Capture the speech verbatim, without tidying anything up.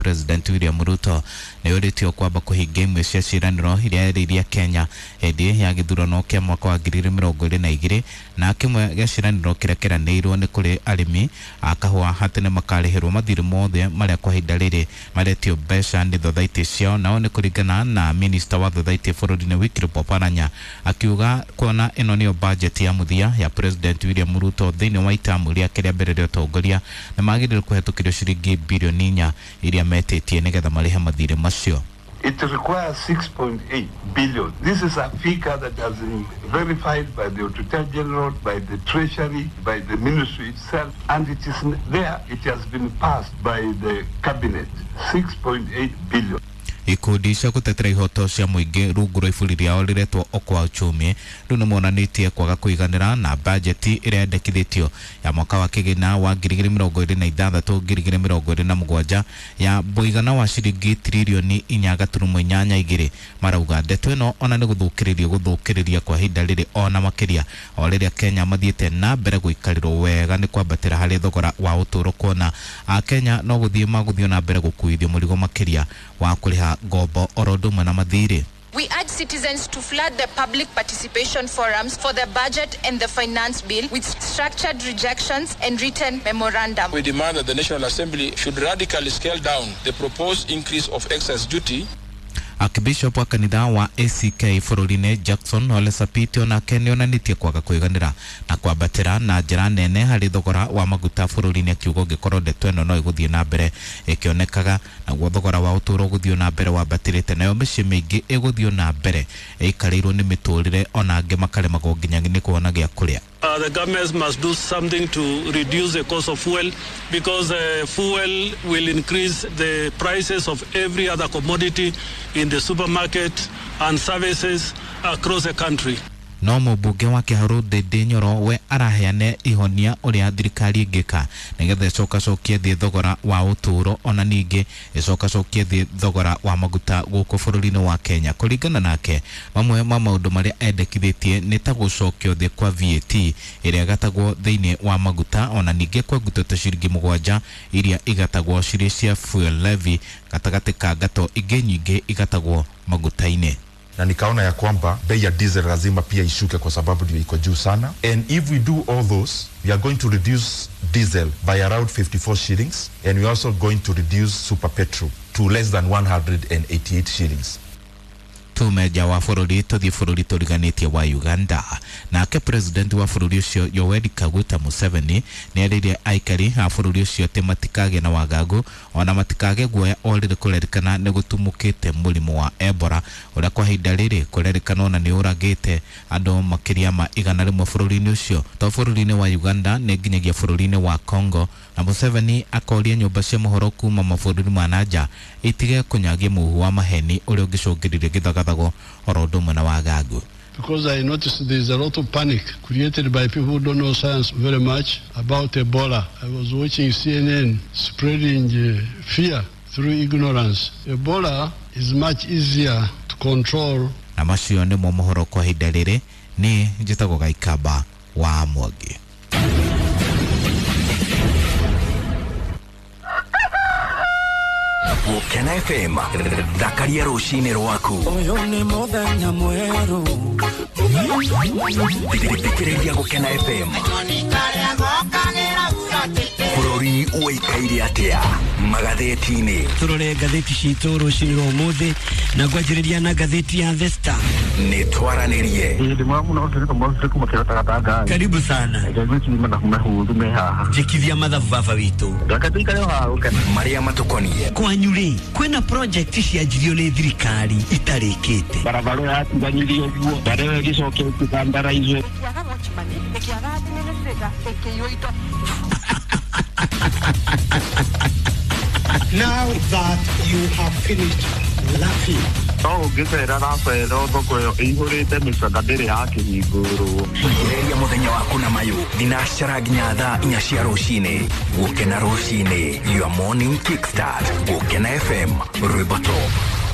President William Ruto nĩ ũrĩtio kwamba kũhingia imwe cia ciĩranĩro iria erĩire Kenya hĩndĩ ya gĩthurano kĩa mwaka wa ngiri igĩrĩ mĩrongo ĩrĩ na igĩrĩ, na kĩmwe gĩa ciĩranĩro kĩrĩa kĩranĩirwo nĩ kũrĩ arĩmi a kahũa atĩ nĩ makarĩhĩrwo mathirĩ mothe marĩa kwa ihinda rĩrĩ maretio mbeca nĩ thothaitĩ ciao. Nao nĩ kũringana na minista wa thothaitĩ bũrũri-inĩ Wycliffe Oparanya akiuga kuona ĩno nĩyo budget ya mũthia ya President William Ruto thĩinĩ wa itamu rĩake rĩa mbere rĩa ũtongoria, nĩ magĩrĩirwo kũhetũkĩrio ciringi bilioni inya iria metĩtie nĩgetha marĩhe mathirĩ macio. It requires six point eight billion. This is a figure that has been verified by the Auditor General, by the Treasury, by the ministry itself, and it is there. It has been passed by the cabinet. six point eight billion. Ikundi cia gũtetera ihoto cia mũingĩ rungu rwa iburi rĩao rĩretwo Okoa Uchumi rĩu nĩ monanĩtie kwaga kũiganĩra na bajeti ĩrĩa yendekithĩtio ya mwaka wa kĩgĩna wa ngiri igĩrĩ mĩrongo ĩrĩ na ithathatũ ngiri igĩrĩ mĩrongo ĩrĩ na mũgwanja ya mũigana wa ciringi tiririoni inya gaturumo inyanya igĩrĩ. Marauga ndeto ĩno ona nĩ gũthũkĩrĩria gũthũkĩrĩria kwa ihinda rĩrĩ ona makĩria o rĩrĩa Kenya mathiĩte na mbere gũikarĩrwo wega nĩ kwambatĩra harĩ thogora wa ũtũũro, kuona Akenya no gũthiĩ magũthiĩ na mbere gũkuithio mũrigo makĩria wa kũrĩha ngombo oro ũndũ ũmwe na mathirĩ. We urge citizens to flood the public participation forums for the budget and the finance bill with structured rejections and written memorandum. We demand that the National Assembly should radically scale down the proposed increase of excise duty. Archbishop wa kanitha wa A C K bũrũri-inĩ Jackson Ole Sapit onake nĩonanĩtie kwaga kũiganĩra na kwambatĩra na njĩra nene harĩ thogora wa maguta bũrũri-inĩ, akiuga ũngĩkorwo ndeto ĩno no ĩgũthiĩ na mbere ĩkĩonekaga naguo thogora wa ũtũũro ũgũthiĩ na mbere wambatĩrĩte, nayo mĩciĩ mĩingĩ ĩgũthiĩ na mbere ĩikarĩirwo nĩ mĩtũrĩre ona angĩ makaremagwo nginya nĩ kuona gĩa kũrĩa. Uh, the government must do something to reduce the cost of fuel, because uh, fuel will increase the prices of every other commodity in the supermarket and services across the country. No mũmbunge wa Kĩharũ Ndindi Nyoro we araheane ihonia ũrĩa thirikari ĩngĩka nĩgetha ĩcokacokie thĩ thogora wa ũtũũro ona ningĩ ĩcokacokie thĩ thogora wa maguta gũkũ bũrũri-inĩ wa Kenya. Kũringana nake, mamwe ma maũndũ marĩa endekithĩtie nĩ ta gũcokio thĩ kwa V A T ĩrĩa ĩgatagwo thĩinĩ wa maguta ona ningĩ kwengutwo ta ciringi mũgwanja iria igatagwo cirĩ cia fuel levy gatagatĩ ka ngato ingĩ nyingĩ igatagwo maguta-inĩ. Na nikaona ya kwamba bei ya diesel lazima pia ishuke kwa sababu ndio iko juu sana. And if we do all those, we are going to reduce diesel by around fifty-four shillings, and we are also going to reduce super petrol to less than one hundred eighty-eight shillings. Tume wa bũrũri tũthiĩ bũrũri tũriganĩtie wa Uganda. Nake president wa bũrũri ũcio Yoweri Kaguta Museveni nĩerĩire aikari a bũrũri ũcio atĩ matikagĩe na wagagu ona matikage guoya o rĩrĩ kũrerĩkana nĩ gũtumũkĩte mũrimũ wa Ebola ũrĩa kwa ihinda rĩrĩ kũrerĩkana ona nĩ ũragĩte andũ makĩria ma igana rĩmwe bũrũri-inĩ ũcio. To bũrũri-inĩ wa Uganda nĩ nginyagia bũrũri-inĩ wa Congo, na Museveni akoria nyũmba cia mohoro kuma mabũrũri ma nanja itige kũnyagia mũhuhu wa maheni ũrĩa ũngĩcũngĩrĩria gĩthagathago oro ũndũ ũmwe na wagagu. Because I noticed there is a lot of panic created by people who don't know science very much about Ebola. I was watching C N N spreading uh, fear through ignorance. Ebola is much easier to control. Na macio nĩmo mohoro kwa ihinda rĩrĩ, nĩ njĩtagwo Gaikamba wa Mwangi. Gukena F M thakaria rũcinĩ rwaku. Ũyũ nĩ mũthenya mwerũ. Thikĩrĩria Gukena F M. Bũrũri ũikaire atĩa magathĩti-inĩ. Tũrore ngathĩti citũ rũcinĩ rwa ũmũthĩ na ngwanjĩrĩria na ngathĩti ya The Star. Nĩ twaranĩrie. Karibu sana. Njĩkithia mathabu baba witũ. Marĩa matũkoniĩ. Kwanyu rĩ, kwĩna project cianjirio nĩ thirikari itarĩkĩte. Barabara yatiganyirio ũguo, barabara ĩgĩcokia ĩkĩkandarairio. Now that you have finished laughing. No ũngĩcera racera thoko ĩyo ĩihũrĩte mĩcaka ndĩrĩ yakĩhingũrwo. Ambĩrĩria mũthenya waku na mayũ thinacara nginya thaa inya cia rũcinĩ. Gũkena rũcinĩ, your morning kickstart. Gũkena F M, rwĩmbo top.